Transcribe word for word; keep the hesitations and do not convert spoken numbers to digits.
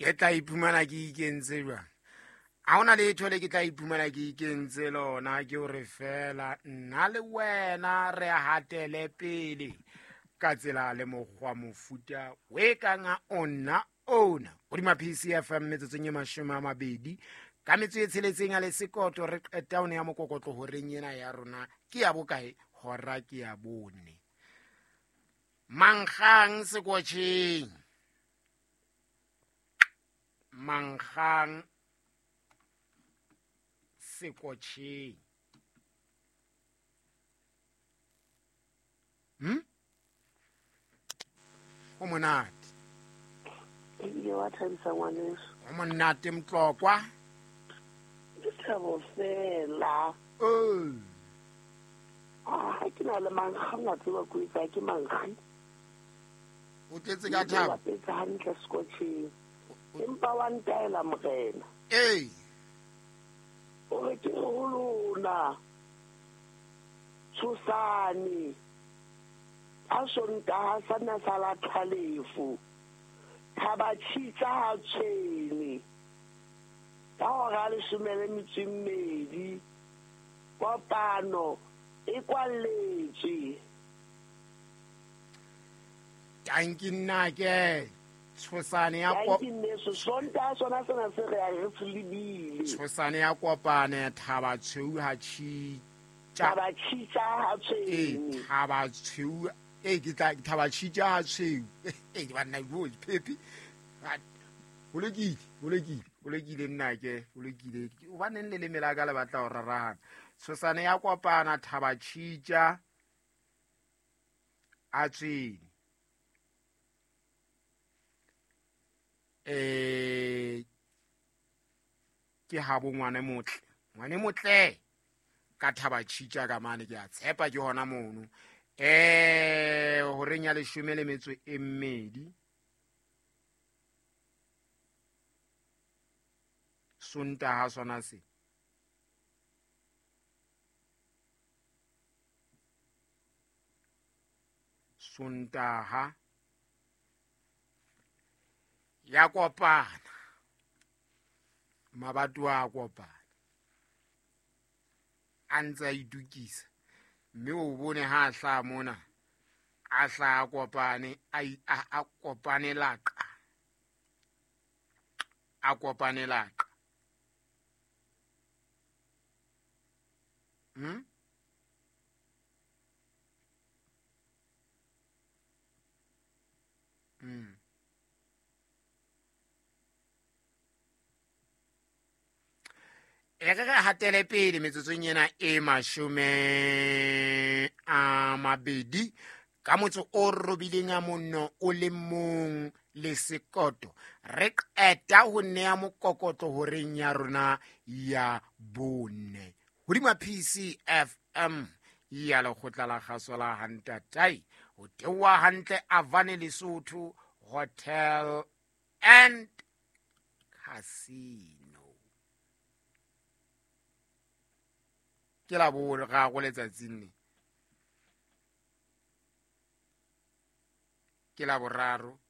Ke tla iphumana ke ikentse jwang? Ha hona letho le ke tla iphumana ke ikentse lona, ke hore feela nna le wena re hatele pele ka tsela le mokgwa mofuta o e kang a ona ona. Hodima P C F M metsotsong e mashome a mabedi ka metso e tsheletseng a le sekoto, re qeta ho neha mokokotlo horeng ena ya rona ke ya bokae? Hora ke ya bone. Mankgang sekotjheng, mankgang sekotjheng. Hm? Ho monate. Ebile wa thabisa ngwaneso. Ho monate Mtlokwa. Ke thabo fela. Oh. Ah, ha ke na le mankgang a tseba ko etsa ke mankgi. O tletse ka thabo. Ke bapetse hantle sekotjheng. Empa wa ntaela morena. Ee. O re ke ho lona. Tshosane. A Sontaha sa na sa la tlhalefo. Thaba tshitsa ha tshwene. Ka hora leshome le metso e mmedi. Kopano e kwalletswe. Tanki nna ke tshosane ya ko Tanki nneso, Sontaha sona sena se re ya re se lebile. Tshosane ya kopane thaba tshweu ha tshitsa. Thaba tshitsa ha tshwene. Eh, thaba tshweu. Eh, ke tla thaba tshitsa ha tshweu. Eh, banna bo phephi. Ho lokile, ho lokile, ho lokile nna ke, ho lokile. Hobaneng le leme la ka le batla ho rarahana? Tshosane ya kopana thaba tshitsa a tshwene. Eh, ke habo ngwana motle. Ngwane motle ka thaba tshitsa ka mane, ke a tshepa ke hona mono. Eh, horeng ya leshome le metso e mmedi. Sontaha sona se. Sontaha ya kopana. Mabatowa a kopana. A ntse a itukisa. Mme o bone ha a hlaha mona, a hlaha a kopane, a i-, a, a kopane laqa. A kopane laqa. Hmm? Hmm. E re re hatele pele metsotsong ena e mashome a mabedi ka motso o robileng a monno o le mong le sekoto. Re qeta ho nea mokokotlo horeng ya rona ya bone. Hodima P C F M ya lekgotla la kgaso la Hantatai. Ho theoha hantle Avane Lesotho Hotel and Casino. Ke la boraro letsatsing le. Ke la boraro.